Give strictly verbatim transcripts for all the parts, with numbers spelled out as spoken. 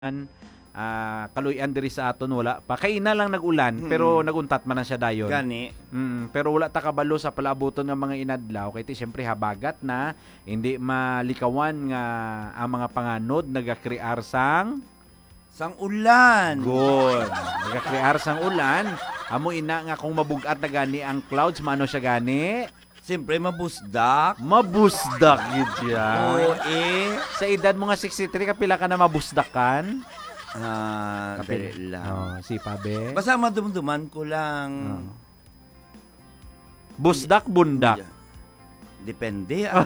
ah, kaluy-an diri sa aton, wala pa. Kaina lang nag-ulan, Mm. pero naguntat man na siya dayon. Gani. Mm, pero wala ta kabalo sa palaabuton nga mga inadlaw, kay ti, siyempre, habagat na, hindi malikawan nga ang mga panganod nagakrear sang Sang ulan. Good. Nagakrear sang ulan. Amo ina nga kung mabug-at na gani ang clouds, maano siya gani? Siyempre, mabusdak. Mabusdak gid siya. Oo, eh. Sa edad mo nga sixty-three, kapila ka na mabusdakan? Ah, Kapila? dali lang. Oh, si Pabe? Basta madumduman ko lang. Oh. Busdak, bundak. Yeah. Depende, ah.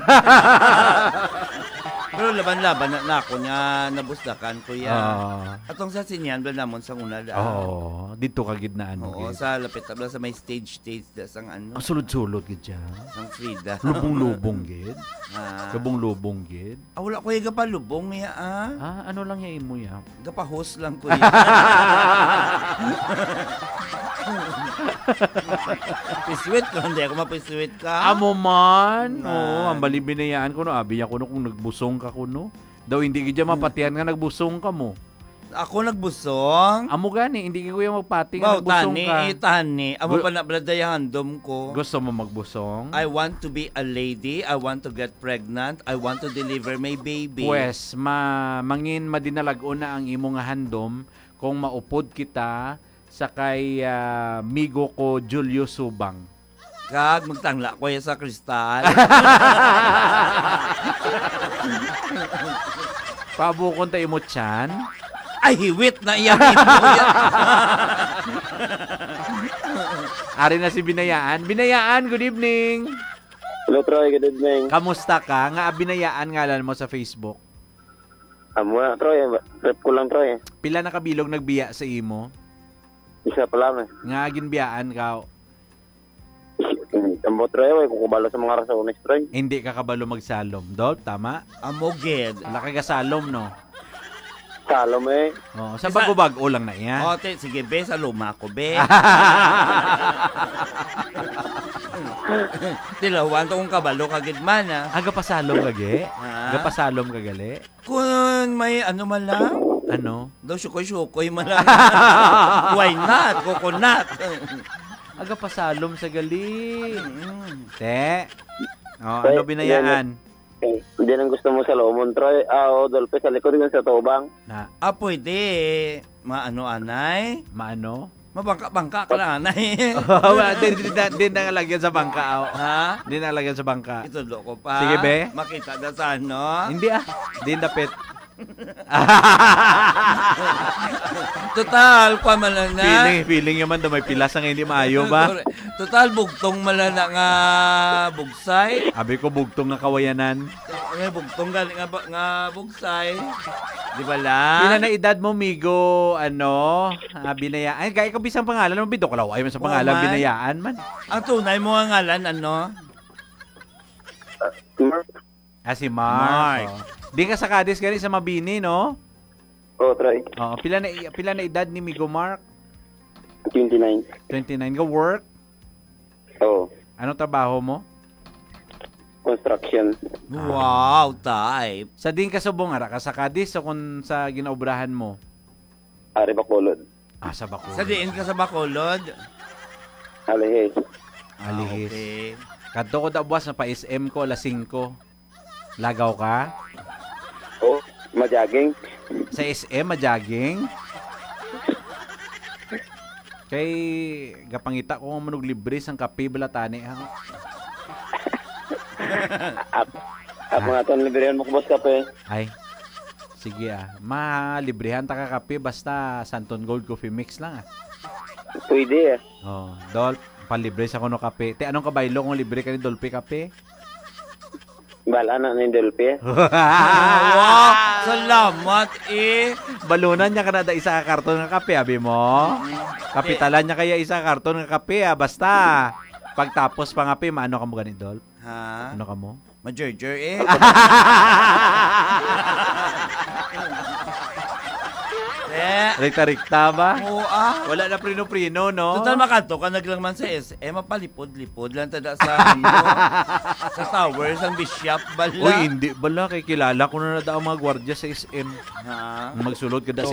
Pero laban-laban na, na ako nga nabusdakan, kuya. Oo. Atong sa Sinian, wala namon sang una, da. Oo, dito ka gid na, ano, Oo, gid. sa lapit, wala sa may stage, stage da sang ano. Ang sulod-sulod gid siya. Sang Frida. Lubong-lubong gid. Ah. Lubong-lubong gid. Ah, wala ko yung gapalubong niya, ah. Ah, ano lang yung imo ya? Gapahos lang ko yan. Piswit ko, hindi ako mapiswit ka. Amo man. Man. Oh, ang bali binayaan ko, no. Abi niya ko, no, kung nagbusong ka ko, no. Daw hindi gid siya Hmm. mapatihan nga nagbusong ka mo. Ako nagbusong? Amo gani, hindi ko yung magpati nga Baw, nagbusong tani, ka. eh, tani. Amo Gu- pa na, brad, dayang handom ko. Gusto mo magbusong? I want to be a lady. I want to get pregnant. I want to deliver my baby. Pwes, ma-, mangin madinalag-on na ang imo nga handom kung maupod kita sa kay, ah, migo ko Julio Subang. Kag magtangla ko ya sa kristal. Pabukon ta imo tiyan. Ay, hiwit na iya, hiwit. Ari na si Binayaan. Binayaan, good evening. Hello, Troy. Good evening. Kamusta ka? Nga Binayaan ngalan mo sa Facebook? Amo na, Troy. Trip ko lang, Troy. Pila na kabilog nagbiya sa imo? Isa pa lang, eh. Nga ginbiyaan ka? Ambot, Troy, way ko kabalo sa mga rasones, Troy. Hindi ka kabalo magsalom, Dol, tama? Amo gid. Wala ka gasalom, no? Salom, eh. Oh, sa Isa- bago-bago lang na iya. O, te, sige, be, sa luma ko, be. Tilawan to kung kabalo ka gid man, ah. Ah, gapasalom ka, ge? Ha? Gapasalom ka, gali? Kung may ano man lang. Ano? Daw sukoy-sukoy man lang. Why not? Coconut. Aga pasalom sa gali. Mm. Te. Oh, Te, ano binayaan? Eh, hindi nang gusto mo sa Lomon, Troy. Ah, o, Dolphy, sa likod yun sa tubang. Na. Ah, pwede. Maano, anay? Maano? Mabangka-bangka ka lang, anay. Wala, di, di, di, di na lagyan sa bangka, aw. Ha? Di na lagyan sa bangka. Itudlo ko pa. Sige, be. Makita na sa ano? Hindi, ah. Di dapit. Total, pa man lang na. Feeling, feeling naman daw may pilas ang hindi maayo ba? Correct. Total, bugtong man lang na nga bugsay. Abi ko, bugtong nga kawayanan. May bugtong gali nga ba-, nga bugsay. Di ba lang? Pila na edad mo, migo? Ano? Ah, binaya-, ay, gaya ko bisang pangalan mo, bidok law. Ay, man sa Oo, pangalan, man. Binayaan man. Ang tunay mo nga ngalan, ano? Mark. Ah, si Mark. Mark. Oh. Di ka sa Cadiz gani sa Mabini, no? Oo, Troy. Oo, pila na i-, pila na edad ni Migo Mark? Twenty-nine. Twenty-nine. Ga work? Oo. Ano trabaho mo? Construction. Wow, type. Sa diin ka subong, ara ka sa Cadiz o kung sa ginaobrahan mo? Ari, Bacolod. Ah, sa Bacolod. Sa diin ka sa Bacolod? Alihis. Ah, Alihis. Okay. Kadto ko da buwas na pa S M ko, alas singko. Lagaw ka? Oh, ma-jogging. Sa S M, ma-jogging? Kay, gapangita ko nga manog libre sang kape bala tani, ha? Ap-, ap-, Ha? Mga ton, librehon mo ko, boss, kape. Ay, sige, ah. Malibrehan ta ka kape, basta Santon Gold Coffee Mix lang, ah. Pwede, ah. Oh, Dol, palibre sa kuno kape. Te, anong kabaylo kung libre ka ni Dolphy kape? Bala na ni Dolphy. Wow! Salamat, eh. Balunan niya ka na da isa ka karton nga kape, abi mo? Mm. Kapitalan niya kaya isa ka karton nga kape, ah. Basta, pagtapos pa nga, pe, maano ka mo gani, Dol? Ha? Ano ka mo? Majerjer, eh. Eh. Rikta-rikta ba? Oo, ah. Wala na prino-prino, no? Total, makanto ka na lang man sa S M, mapalipod-lipod lang tada sa, ano, sa tower, sa bishop, bala. Uy, hindi bala. Kay kilala ko na na daw ang mga gwardiya sa S M. Ha? Magsulod ka da So,